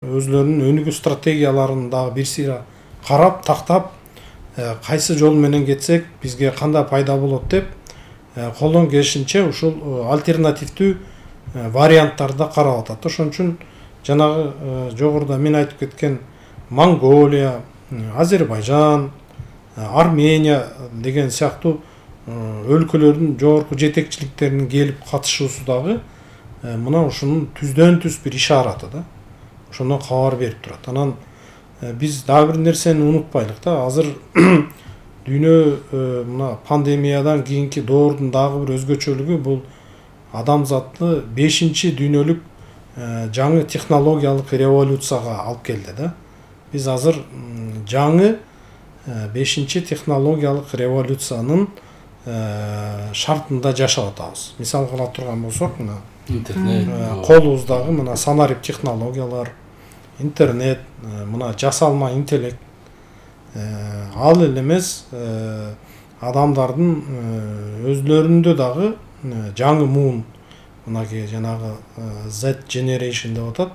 өзлөрүнүн өнүгүү стратегияларын дагы бир сыйра карап, тактап, кайсы жол менен кетсек бизге кандай пайда болот деп колдон келишинче ушул альтернативдүү варианттарды карап атат. Ошон үчүн жанагы жогоруда мен айтып кеткен Монголия, Азербайжан, Армения деген сыяктуу өлкөлөрдүн жогорку жетекчиликтеринин келип катышуусу дагы мына ушунун түздөн түз бир ишараты да. Ошондон кабар берип турат. Анан биз дагы бир нерсени унутпайлык да. Азыр дүйнө мына пандемиядан кийинки доордун дагы бир өзгөчөлүгү бул адамзатты 5-чи дүйнөлүк жаңы технологиялык революцияга алып келди да. Биз азыр жаңы 5-чи технологиялык революциянын шартында жашап атабыз. Мисал кыла турган болсок, мына интернет, колубуздагы мына санарип технологиялар, интернет, мына жасалма интеллект, ал эле эмес адамдардын өзлөрүндө дагы жаңы муун, мынакей жанагы Z generation деп атат.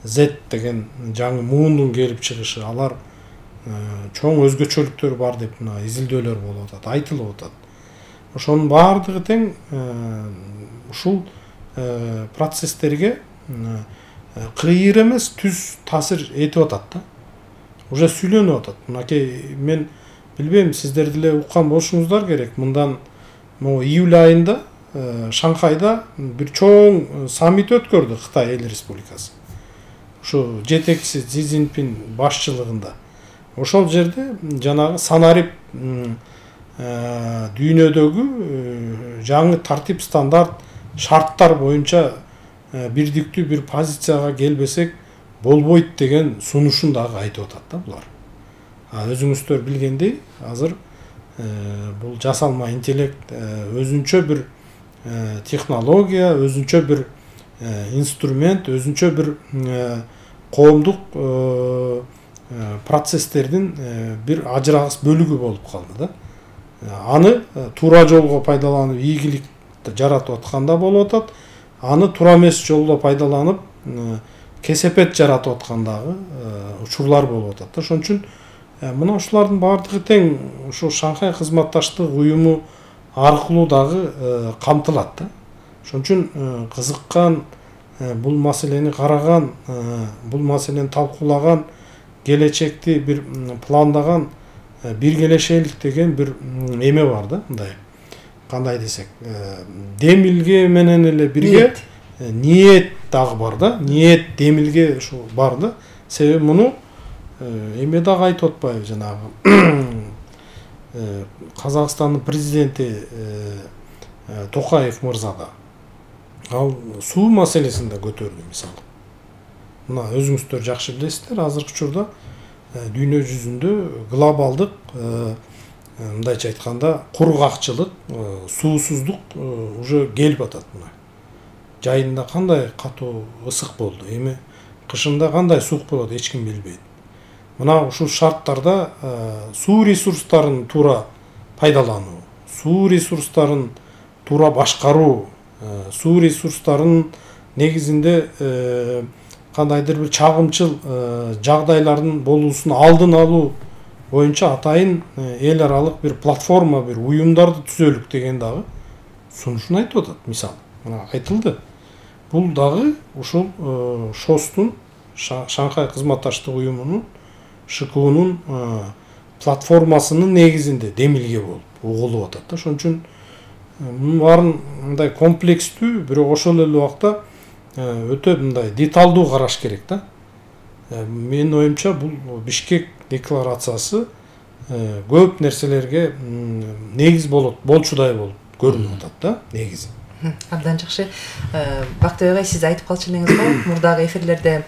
Z деген жаңы муундун келип чыгышы, алар чоң өзгөчөлүктөр бар деп мына изилдөөлөр болуп атат, айтылып атат. Ошонун баардыгы тең ушул процесстерге кыйыр эмес түз таасир этип атат да. Уже сүйлөнүп атат. Мынакей мен билбейм, сиздер деле уккан болушуңуздар керек. Мындан июль айында Шанхайда бир чоң саммит өткөрдү Кытай Эл Республикасы. Ушу жетекчиси Си Цзиньпин башчылыгында. Ошол жерде жанагы санарип дүйнөдөгү жаңы тартип, стандарт, шарттар боюнча бирдиктүү бир позицияга келбесек болбойт деген сунушун дагы айтып атат да булар. Өзүңүздөр билгендей, азыр бул жасалма интеллект өзүнчө бир технология, өзүнчө бир инструмент, өзүнчө бир коомдук процесстердин бир ажырагыс бөлүгү болуп калды да. Аны туура жолго пайдаланып, ийгилик жаратып атканда болуп атат. Аны туура эмес жолдо пайдаланып, кесепет жаратып аткандагы учурлар болуп атат. Ошон үчүн мына ушулардын баардыгы тең ушул Шанхай кызматташтык уюму аркылуу дагы камтылат да. Ошон үчүн кызыккан, бул маселени караган, бул маселени талкуулаган, келечекти бир пландаган, биргелешелик деген бир эме бар да, мындай. Кандай десек, демилге менен эле бирге ниет дагы бар да. Ниет демилге ушу бар да. Себеби муну эме дагы айтып атпайбы, жанагы Казакстандын президенти Токаев мырза да. Ал суу маселесин да көтөрдү мисалы. Мына өзүңүздөр жакшы билесиздер, азыркы учурда дүйнө жүзүндө глобалдык, мындайча айтканда, кургакчылык, суусуздук уже келип атат мына. Жайында кандай катуу ысык болду, эми кышында кандай суук болот, эч ким билбейт. Мына ушул шарттарда суу ресурстарын туура пайдалануу, суу ресурстарын туура башкаруу, суу ресурстарын негизинде кандайдыр бир чагымчыл жагдайлардын болуусун алдын алуу боюнча атайын эл аралык бир платформа, бир уюмдарды түзөлүк деген дагы сунушун айтып атат. Мисалы, мына айтылды. Бул дагы ушул ШОСтун, Шанхай кызматташтык уюмунун, ШКУнун платформасынын негизинде демилге болуп угулуп атат да. Ошон үчүн мунун баарын мындай комплекстүү, бирок ошол эле убакта өтө мындай деталдуу караш керек да. Менин оюмча бул Бишкек декларациясы көп нерселерге негиз болчудай болуп көрүнүп атат да, негизи. Абдан жакшы. Бактыбек агай, сиз айтып калчу элеңиз го, мурдагы эфирлерде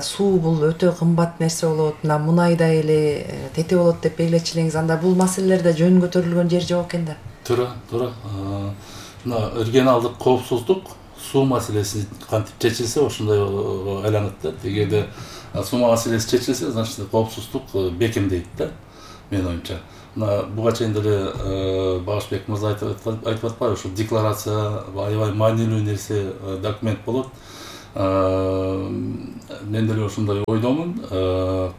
суу бул өтө кымбат нерсе болот, мына мунайдай эле тете болот деп белгилечү элеңиз. Анда бул маселелерде жөн көтөрүлгөн жер жок экен да. Туура. Мына регионалдык коопсуздук, суу маселеси кантип чечилсе ошондой айланат да. Эгерде суу маселеси чечилсе, значит коопсуздук бекемдейт да, менин оюмча. Мына буга чейин деле Багышбек мырза айтып атпайбы, ушул декларация аябай маанилүү нерсе, документ болот. мен деле ошондой ойдомун.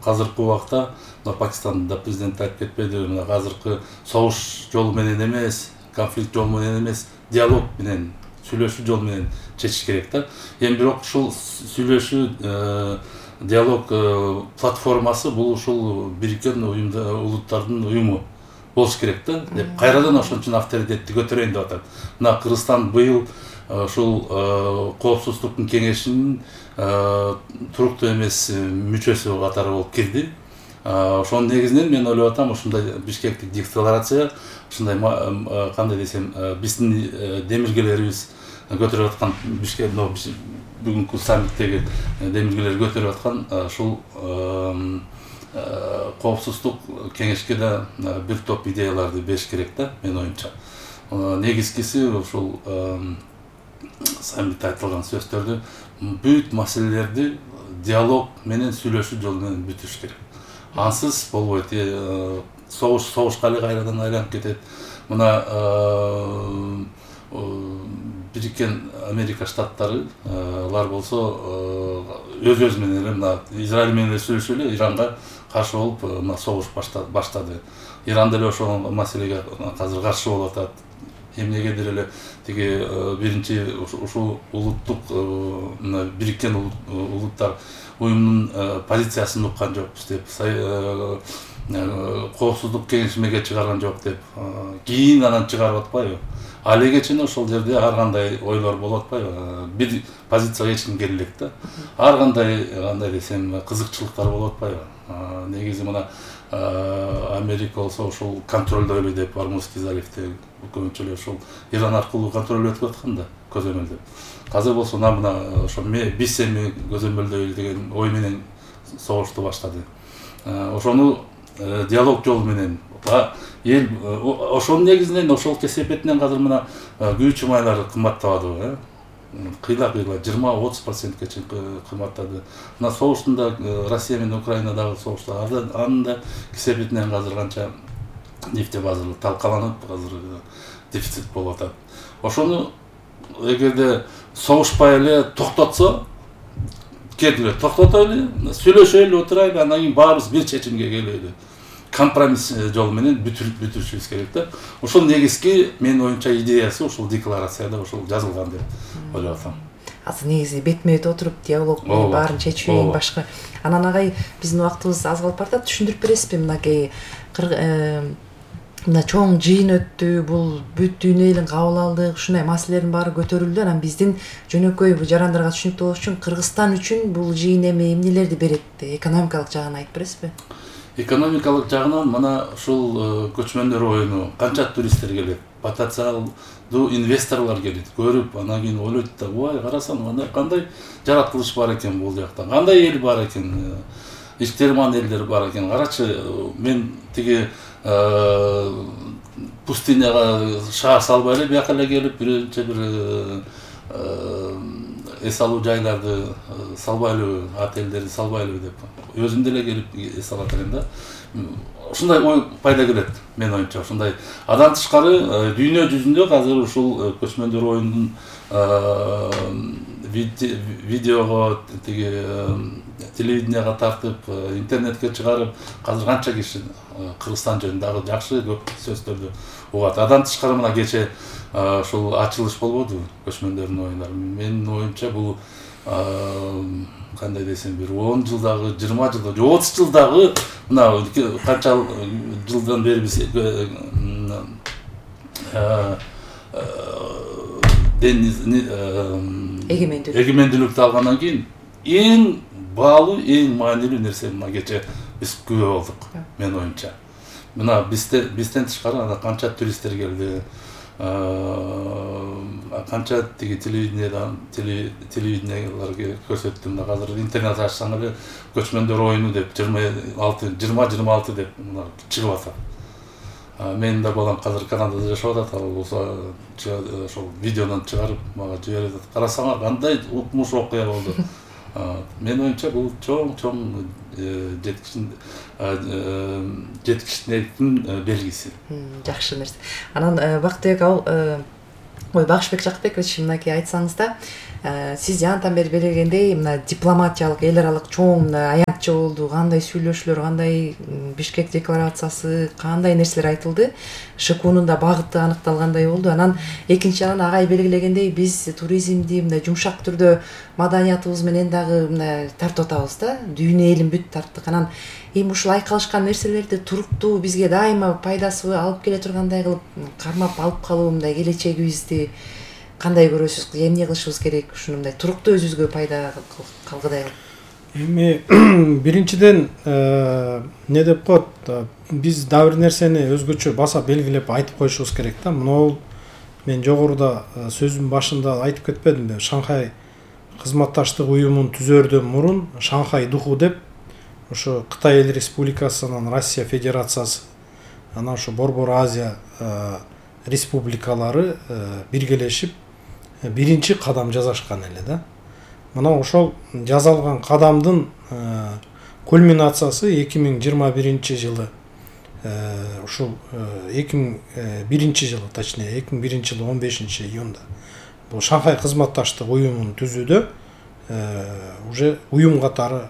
Азыркы убакта Пакистанда президент айтып кетпеди, мына азыркы согуш жолу менен эмес, конфликт жолу менен эмес, диалог менен, сүйлөшүү жолу менен чечиш керек да. Эми бирок ушул сүйлөшүү диалог платформасы бул ушул Бириккен Улуттардын уюму болуш керек да. Деп кайрадан ошон үчүн авторитетти көтөрөйүн деп атат. Мына Кыргызстан быйыл ушул Коопсуздуктун кеңешинин туруктуу эмес мүчөсү катары болуп кирди. Ошонун негизинен мен ойлоп атам, ушундай Бишкектик декларация, ушундай кандай десем, биздин демилгелерибиз көтөрүп аткан Бишкек бүгүнкү саммиттеги демилгелер көтөрүп аткан ушул Коопсуздук кеңешке да бир топ идеяларды бериш керек да, менин оюмча. Негизгиси ушул саммитте айтылган сөздөрдү бүт маселелерди диалог менен, сүйлөшүү жолу менен бүтүш керек. Ансыз болбойт. Согушка эле кайрадан айланып кетет. Мына Бириккен Америка Штаттары алар болсо өз менен эле мына Израиль менен эле сүйлөшүп эле Иранга каршы болуп мына согуш баштады. Иран деле ошол маселеге азыр каршы болуп атат. Эмнегедир эле тиги биринчи ушул улуттук Бириккен Улуттар уюмунун позициясын уккан жокпуз деп, Коопсуздук кеңешмеге чыгарган жок деп, кийин анан чыгарып атпайбы? Алиге чейин ошол жерде ар кандай ойлор болуп атпайбы? Бир позицияга эч ким келе элек да. Ар кандай десем, кызыкчылыктар болуп атпайбы? Негизи мына Америка болсо ошол контролдойлу деп, Ормузский заливди көбүнчө эле ошол Иран аркылуу контролдоп аткан да, көзөмөлдөп. Азыр болсо мына ошо биз эми көзөмөлдөйлү деген ой менен согушту баштады. Ошону диалог жолу менен эл ошонун негизинен, ошол кесепетинен азыр мына күйүүчү майлар кымбаттабадыбы, кыйла 20-30%-ке чейин кымбаттады. Мына согуштун да Россия менен Украинадагы согушта анын да кесепетинен азыр канча нефтебаза талкаланып, азыр дефицит болуп атат. Ошону эгерде согушпай эле токтотсо, келгиле токтотойлу, сүйлөшөйлү, отурайлы, анан кийин баарыбыз бир чечимге келели. Компромисс жолу менен бүтүрүшүбүз керек да. Ошол негизги менин оюмча идеясы ушул декларацияда ушул жазылган деп ойлоп атам. Азыр негизи бетме-бет отуруп диалог менен баарын чечүү эң башкы. Анан агай, биздин убактыбыз аз калып баратат, түшүндүрүп бересизби мынакей мына чоң жыйын өттү, бул бүт дүйнө элин кабыл алдык, ушундай маселелердин баары көтөрүлдү. Анан биздин жөнөкөй жарандарга түшүнүктүү болуш үчүн Кыргызстан үчүн бул жыйын эмнелерди берет, экономикалык жагын айтып бересизби? Экономикалык жагынан мына ушул көчмөндөр оюну канча туристтер келет, потенциалдуу инвесторлор келет, көрүп, анан кийин ойлойт да, ой, карасаң, кандай жаратылыш бар экен бул жакта, кандай эл бар экен, ичтерман элдер бар экен. Карачы, мен тиги пустыняга шаар салбай эле бияка эле келип, биринчи бир эс алуу жайларды салбайлы, отелдерди салбайлы деп өзүм деле келип эс алат элем да. Ушундай ой пайда келет менин оюмча. Ушундай андан тышкары дүйнө жүзүндө азыр ушул көчмөндөр оюнунун видеого, тиги телевиденияга тартып, интернетке чыгарып, азыр канча киши Кыргызстан жөнүндө жакшы көп сөздөрдү угат. Андан тышкары мына кече ушул ачылыш болбодубу көчмөндөрдүн оюндар. Менин оюмча бул кандай десем, бир 10 жылдагы, 20 жылдагы, 30 жылдагы мына канча жылдан бери биз эгемендүүлүктү алгандан кийин эң баалуу, эң маанилүү нерсе мына кече биз күбө болдук, менин оюмча. Мына бизден тышкары анда канча туристтер келди, канча тиги телевидениялар көрсөттү. Мына азыр интернет ачсаң эле көчмөндөр оюну деп 20-26 деп мына чыгып атат. Менин да балам азыр Канадада жашап атат, ал болсо ошол видеодон чыгарып мага жиберип атат. Карасаңар кандай укмуш окуя болду. Менин оюмча бул чоң жеткичтиктин белгиси. Жакшы нерсе. Анан Бактыбек, ал Ой, Багышбек Жакпекович, мынакей айтсаңыз да, сиз жантан бери белгилегендей, мына дипломатиялык, эл аралык чоң мына аянтчы болду, кандай сүйлөшүүлөр, кандай Бишкек декларациясы, кандай нерселер айтылды, ШКУнун да багыты аныкталгандай болду. Анан экинчи жагынан агай белгилегендей, биз туризмди мындай жумшак түрдө маданиятыбыз менен дагы мына тартып атабыз да, дүйнө элин бүт тарттык. Анан эми ушул айкалышкан нерселерди туруктуу бизге дайыма пайдасы алып келе тургандай кылып кармап алып калуу, мындай келечегибизди кандай көрөсүз, эмне кылышыбыз керек, ушуну мындай туруктуу өзүбүзгө пайда калгыдай кылып? Эми биринчиден эмне деп коет, биз дагы бир нерсени өзгөчө баса белгилеп айтып коюшубуз керек да. Мына мен жогоруда сөзүмдүн башында айтып кетпедимби? Шанхай кызматташтык уюмун түзөрдөн мурун Шанхай духу деп ошо Кытай Эл Республикасынын Россия Федерациясы, анан ошо Борбор Азия республикалары биргелешип биринчи кадам жасашкан эле да. Мына ошол жасалган кадамдын кульминациясы 2021 жылы, ушул 2001 жылы, точнее 2001 жылы 15 июнда бул Шанхай кызматташтык уюмун түзүүдө уже уюм катары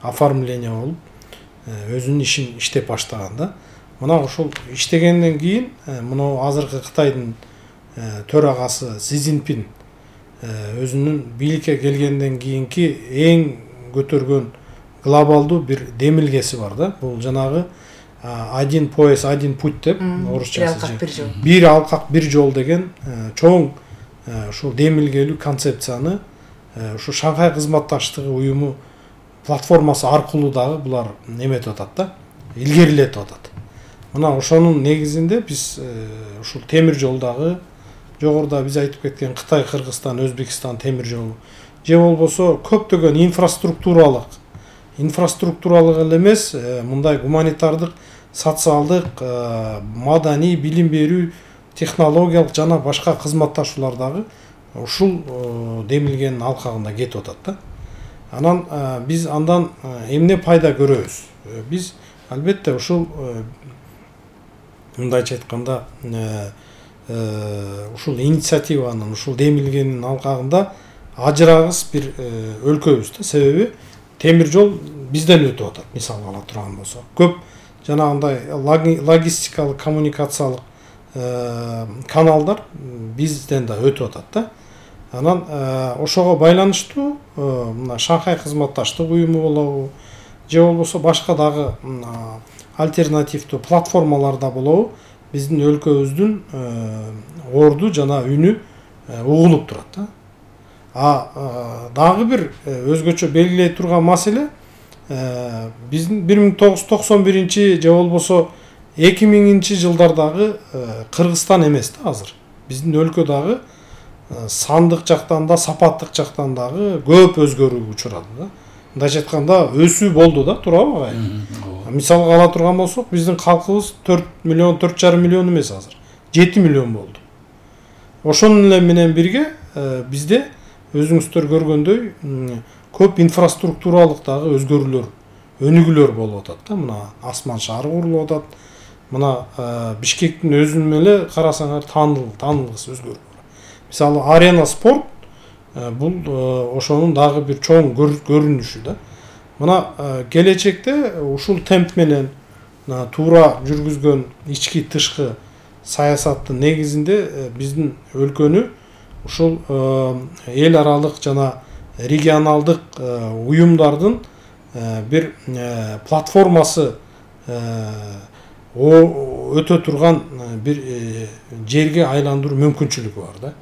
оформление болуп өзүнүн ишин иштеп баштаган да. Мына ошол иштегенден кийин мына азыркы Кытайдын төрагасы Си Цзиньпин өзүнүн бийликке келгенден кийинки эң көтөргөн глобалдуу бир демилгеси бар да. Бул жанагы один пояс, один путь деп орусчасы. Бир алкак бир жол деген чоң ушул демилгелүү концепцияны ушу Шанхай кызматташтыгы уюму платформасы аркылуу дагы булар неметип атат да, илгерилетип атат. Мына ошонун негизинде биз ушул темир жолдагы жогоруда биз айтып кеткен Кытай, Кыргызстан, Өзбекстан темир жолу же болбосо көптөгөн инфраструктуралык эле эмес, мындай гуманитардык, социалдык, маданий, билим берүү, технологиялык жана башка кызматташуулар дагы ушул демилгенин алкагында кетип атат да. Анан биз андан эмне пайда көрөбүз? Биз албетте ушул мындайча айтканда ушул инициативанын, ушул демилгенин алкагында ажырагыс бир өлкөбүз да. Себеби темир жол бизден өтүп атат, мисалга ала турган болсок. Көп жанагындай логистикалык, коммуникациялык каналдар бизден да өтүп атат да. Анан ошого байланыштуу мына Шанхай кызматташтык уюму болобу, же болбосо башка дагы альтернативдүү платформалар да болобу, биздин өлкөбүздүн орду жана үнү угулуп турат да. Дагы бир өзгөчө белгилей турган маселе, биздин 1991 же болбосо 2000 жылдардагы Кыргызстан эмес да азыр. Биздин өлкө дагы сандык жактан да, сапаттык жактан дагы көп өзгөрүүгө учурады да. Мындайча айтканда өсүү болду да, туурабы агай? Мисалга ала турган болсок, биздин калкыбыз 4 миллион, 4,5 миллион эмес азыр, 7 миллион болду. Ошонун эле менен бирге бизде өзүңүздөр көргөндөй көп инфраструктуралык дагы өзгөрүүлөр, өнүгүүлөр болуп атат да. Мына асман шаары курулуп атат. Мына Бишкектин өзүн эле карасаңар таанылгыс өзгөрүү. Мисалы Арена спорт бул ошонун дагы бир чоң көрүнүшү да. Мына келечекте ушул темп менен туура жүргүзгөн ички тышкы саясаттын негизинде биздин өлкөнү ушул эл аралык жана регионалдык уюмдардын бир платформасы өтө турган бир жерге айландыруу мүмкүнчүлүгү бар да.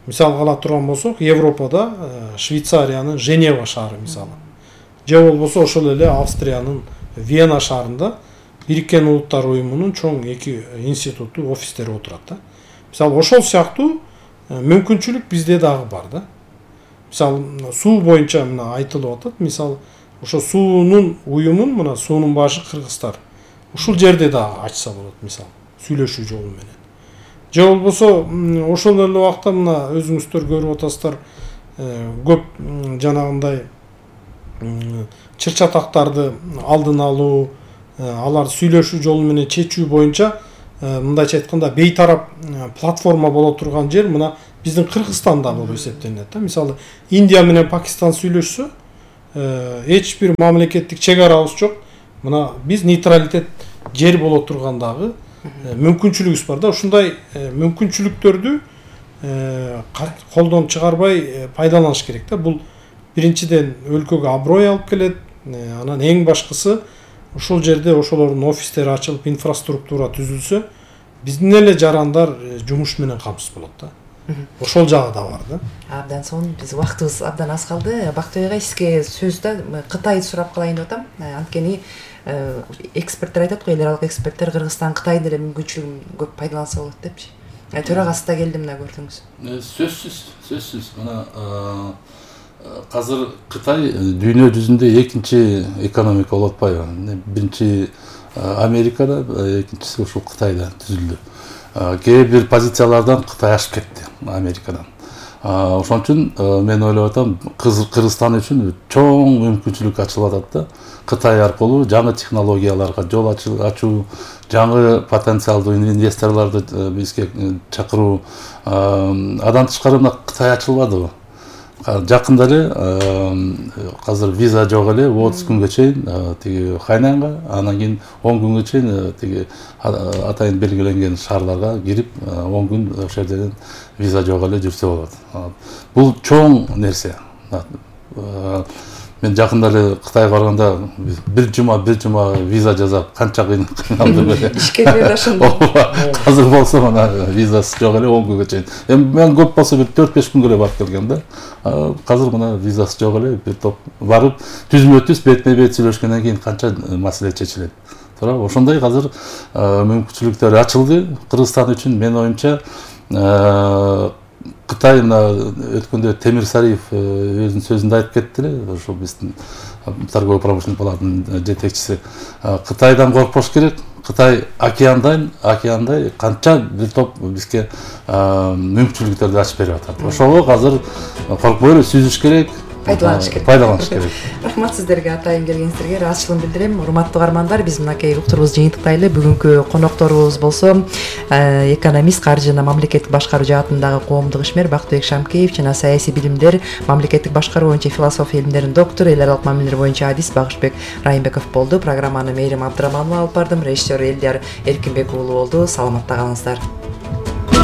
Мисалга ала турган болсок, Европада Швейцариянын Женева шаары мисалы, же болбосо ошол эле Австриянын Вена шаарында Бириккен Улуттар уюмунун чоң эки институту, офистери отурат да. Мисалы ошол сыяктуу мүмкүнчүлүк бизде дагы бар да. Мисалы суу боюнча мына айтылып атат. Мисалы ошо суунун уюмун, мына суунун башы Кыргызстар. Ушул жерде дагы ачса болот, мисалы сүйлөшүү жолу менен. Же болбосо ошол эле убакта мына өзүңүздөр көрүп атасыздар, көп жанагындай чыр-чатактарды алдын алуу, алар сүйлөшүү жолу менен чечүү боюнча мындайча айтканда бейтарап платформа боло турган жер мына биздин Кыргызстанда болуп эсептелинет да. Мисалы Индия менен Пакистан сүйлөшсө эч бир мамлекеттик чек арабыз жок. Мына биз нейтралитет жер боло тургандагы мүмкүнчүлүгүбүз бар да. Ушундай мүмкүнчүлүктөрдү колдон чыгарбай пайдаланыш керек да. Бул биринчиден өлкөгө аброй алып келет. Анан эң башкысы ошол жерде ошолордун офистери ачылып, инфраструктура түзүлсө, биздин эле жарандар жумуш менен камсыз болот да. Ошол жагы да бар да. Абдан сонун, биз убактыбыз абдан аз калды. Бактыбек агай, сизге сөз да Кытайды сурап калайын деп атам. Анткени эксперттер айтат го, эл аралык эксперттер Кыргызстан Кытайдын эле мүмкүнчүлүгүн көп пайдаланса болот депчи. Төрагасы да келди, мына көрдүңүз. Сөзсүз. Мына азыр Кытай дүйнө жүзүндө экинчи экономика болуп атпайбы? Биринчи Америкада, экинчиси ушул Кытайда түзүлдү. Кээ бир позициялардан Кытай ашып кетти Америкадан. Ошон үчүн мен ойлоп атам, Кыргызстан үчүн чоң мүмкүнчүлүк ачылып атат да. Кытай аркылуу жаңы технологияларга жол ачуу, жаңы потенциалдуу инвесторлорду бизге чакыруу. Андан тышкары мына Кытай ачылбадыбы? Жакында эле азыр виза жок эле 30 күнгө чейин тиги Хайнанга, анан кийин 10 күнгө чейин тиги атайын белгиленген шаарларга кирип 10 күн ошол жерден виза жок эле жүрсө болот. Бул чоң нерсе. Мен жакында эле Кытайга барганда бир жума виза жасап канча кыйналдым эле. Ишкерлер ошондо. Азыр болсо мына визасы жок эле 10 күнгө чейин. Мен көп болсо бир 4-5 күнгө эле барып келгем да. Азыр мына визасы жок эле бир топ барып түзмө-түз бетме-бет сүйлөшкөндөн кийин канча маселе чечилет. Туура, ошондой азыр мүмкүнчүлүктөр ачылды Кыргызстан үчүн. Мен оюмча Кытай мына өткөндө Темир Сариев өзүнүн сөзүндө айтып кетти эле, ошол биздин торгово-промышленный палатанын жетекчиси. Кытайдан коркпош керек. Кытай океандай канча бир топ бизге мүмкүнчүлүктөрдү ачып берип атат. Ошого азыр коркпой эле сүзүш керек. Пайдаланыш керек. Рахмат сиздерге, атайын келгениңиздерге ыраазычылыгын билдирем. Урматтуу угармандар, биз мынакей уктурубузду жыйынтыктайлы. Бүгүнкү конокторубуз болсо экономист, каржы жана мамлекеттик башкаруу жаатындагы коомдук ишмер Бактыбек Шамкеев жана саясий билимдер, мамлекеттик башкаруу боюнча философия илимдеринин доктору, эл аралык мамилелер боюнча адис Багышбек Райымбеков болду. Программаны Мээрим Абдыраманова алып бардым. Режиссер Элдияр Эркинбек уулу болду. Саламатта калыңыздар.